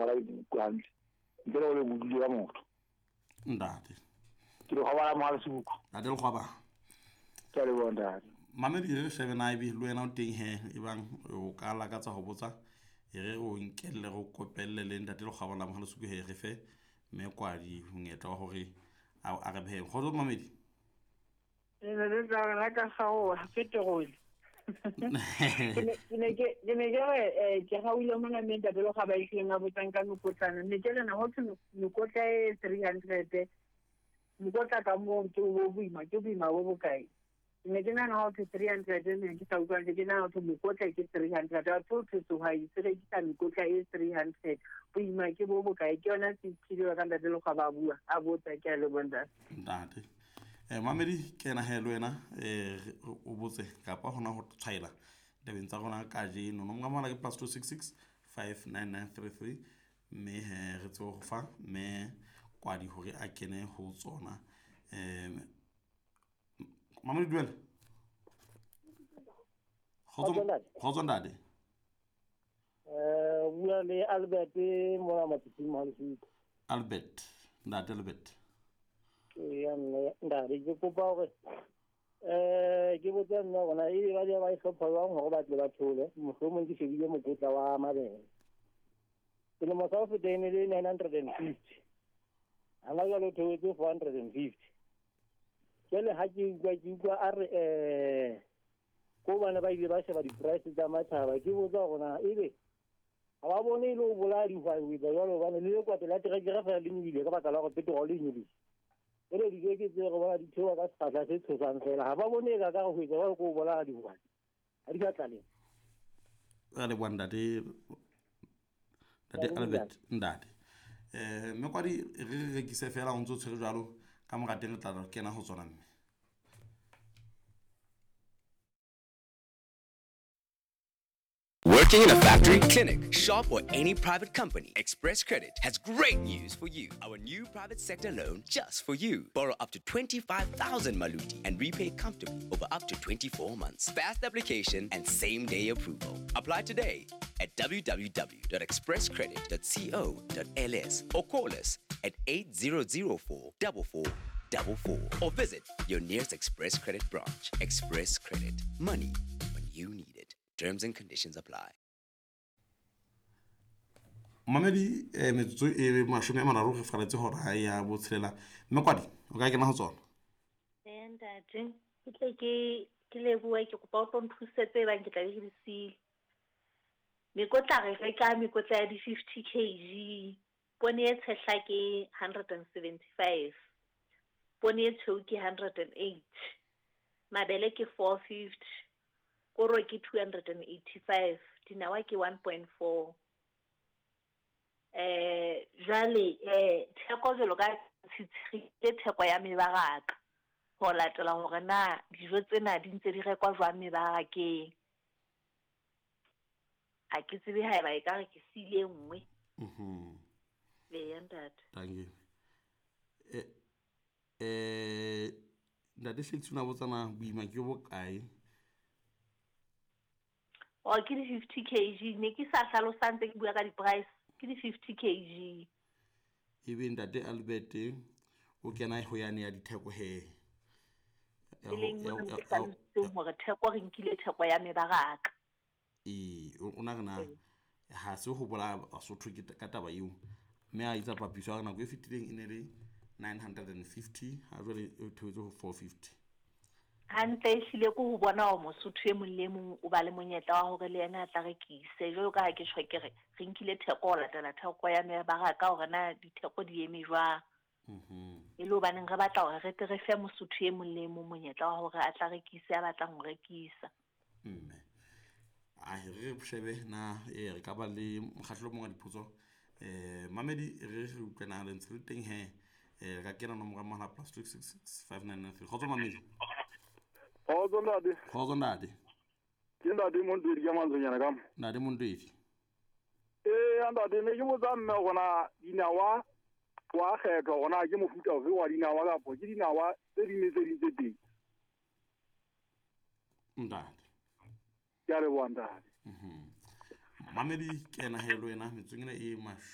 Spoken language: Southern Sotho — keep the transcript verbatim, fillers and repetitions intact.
ngola buku hantle ntle le hore bodule ka motho. Ntate ke Lekgwaba la Mohalesuku. Ntate Lekgwaba, ke a leboha ntate. Mamedi re shebe na ebe le wena o teng he, ebang o ka lakatsa ho botsa, e re o nkelle re o kopelle le ntate Lekgwaba la Mohalesuku he, re fe mme Kwadi monyetla wa hore a a re behe. Kgotso mamedi. Ne le tla la ka kgaoha petrol. Ke ne ke ke ne ke re eh ke gaule mona mme ntate Lekgwaba e tlileng a botsang ka mekotlana. Ne ke re na ho thwe mekotla e three hundred mokotla ka moo ke bo boima, ke boima bo bokae? Ne ke nahana ho thwe three hundred ne ke sa utlwa hantle, ke nahana ho thwe mokotla ke three hundred. A thwe thwe sehwai se rekisa mekotla e three hundred boima ke bo bokae? Ke yona sethile ka ntate Lekgwaba a bua a botsa. Ke a leboha ntate. Ntate eh mamedi ke ena he le wena eh o botse kapa hona ho tshwaela tabeng tsa rona kajeno. Nomoro ya mohala ke plus two six six five nine nine three three mme he re tsebe ho fa mme Kwadi hore a kene ho tsona. Eh mamedi dumela. Kgotso kgotso ntate. Eh bua le Albert mona Matiping Mohalesuku. Albert, ntate Albert. Ya mme ntate ke kopa hore eh ke botse nna hore e ba di ba e hlopha jwang hore ba tle ba thole, mohlomong ke shebile mokotla wa mabele. Selemo sa ho feta e ne le nine hundred and fifty. Hana jwale o theohetse four hundred and fifty. Jwale ha ke utlwa ke utlwa a re eh ko bana ba ile ba sheba di-price tsa matjhaba, ke botsa hore na ebe ha ba bone e le ho bolaya dihwai ho etsa jwalo, hobane le lekwate la terekere feela le nyolohile ka baka la hore petrol e nyolohile. Jwale dijo ke tse re bona di theoha ka sekgahla se tshosang feela, ha ba bone e ka ka ho etsa jwalo ke ho bolaya dihwai. Ha di sa tlaleng. Re leboha ntate ntate Albert ntate. Eh mme Kwadi re re rekise feela o ntso tshwere jwalo ka mora teng re tla kena ho tsona mme. Working in a factory, clinic, shop, or any private company, Express Credit has great news for you. Our new private sector loan just for you. Borrow up to twenty-five thousand Maluti and repay comfortably over up to twenty-four months. Fast application and same-day approval. Apply today at w w w dot express credit dot co dot l s or call us at eight zero zero four four four four four or visit your nearest Express Credit branch. Express Credit. Money when you need it. Terms and conditions apply. Mamedi eh metsotso e mashome a mararo re faretse hora ya botshelela. Mme Kwadi o ka kena ho tsona. Eh ntate, ke tle ke ke lebohe, ke kopa o tlo nthusetse e bang ke tla be ke di siile. Mekotla re reka mekotla ya di-fifty kg, poone e tshehla ke hundred and seventy-five, poone e tshweu ke hundred and eight, mabele ke four fifty, koro ke two hundred and eighty-five, dinawa ke one point four. Eh jwale eh theko jwalo ka tshitshire theko ya mebaraka ho latela hore na dijo tsena di ntse di rekwa jwang mebarakeng. Ha ke tsebe haeba e ka re ke siile e nngwe. Mhm. Eya ntate. Thank you. Eh eh ntate Shakes o na botsa na boima ke bokae? O ke di fifty kg, ne ke sa hlalosa ntse ke bua ka di-price, ke di fifty kg. Ebe ntate Albert o kena ho yane ya ditheko he. E leng mo ke hlalositseng hore theko re nkile theko ya mebaraka. E o na re na ha se ho bolaya Basotho ke ka taba eo, mme a etsa papiso ya nako e fetileng e ne le nine hundred and fifty, ha jwale e theohetse ho four fifty. Hantle ehlile ke ho bona hore Mosotho e mong le mong o ba le monyetla wa hore le yena a tla rekise. Jwalo ka ha ke tjho ke re re nkile theko ho latela theko ya mebaraka hore na ditheko di eme jwang. Mhm. E le hobaneng re batla hore re tle re fe Mosotho e mong le mong monyetla wa hore a tla rekise a batlang ho rekisa. Mme a re shebe na e re ka ba le mokgatlo o mong wa dipotso. Eh mamedi re re utlwana le ntse le teng he, eh re ka kena nomoro ya mohala plus two six six five nine nine three. Kgotso mamedi. Kgotso ntate. Kgotso ntate. Ke ntate Montwedi ka mantswenyana ka mo. Ntate Montwedi. Eh ntate ne ke botsa mme hore na dinawa wa kgethwa hore na ke mofuta ofe wa dinawa kapa ke dinawa tse ding le tse ding tse teng. Ntate. Ke a leboha ntate. Mhm. Mamedi kena he le wena metsong ena e mashome